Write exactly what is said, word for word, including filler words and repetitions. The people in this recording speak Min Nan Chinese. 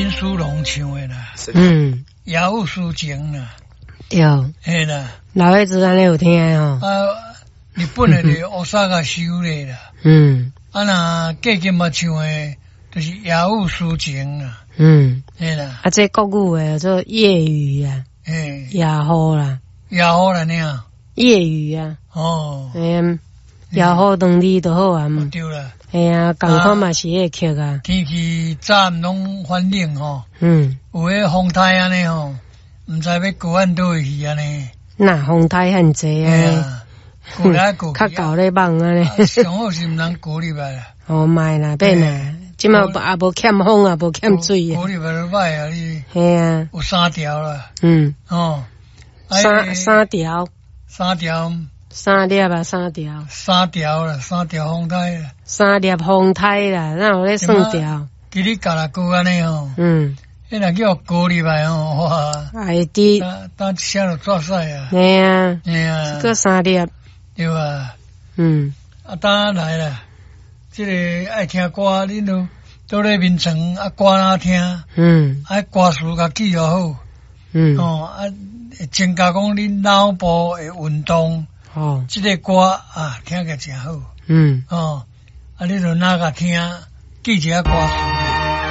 林書龍唱的啦，嗯，雅虎抒情啦，對，嘿啦，老伙子按呢有聽吼。啊，日本的就大阪修的啦，嗯，啊若過金嘛唱的，就是雅虎抒情啦，嗯，嘿啦，啊，這國語的做夜雨啊，嘿，夜雨啦，夜雨啦爾，夜雨啊，哦，嘿，夜雨當你就好啊，對啦，嘿啊，仝款嘛是彼个曲啊，天氣早暗攏反冷吼，嗯，有彼風颱按呢吼，毋知欲過按佗位去按呢，若風颱遐濟啊，過來過較厚咧網按呢，上好是毋通過入來啦，哦，莫啦，免啦，這馬也無欠風啊，無欠水啊，過入來就歹啊，你，嘿啊，有三條啦，嗯，哦，三三條，三條，三粒啊，三條，三條啦，三條風颱啦，三粒風颱啦，哪有咧算條？吉里嘎啦過按呢吼，嗯，彼若叫過入來吼，哇，會佇，當一聲就逝啊，嘿啊，嘿啊，閣三粒，對啊，嗯，啊，當來啦，這个愛聽歌，恁都倒咧眠床啊，歌哪聽？嗯，啊，歌詞共記予好，嗯，哦，啊，會增加講恁腦部的運動，哦，這个歌啊，聽起來誠好，嗯，哦，啊，你就若共聽，記一下歌詞。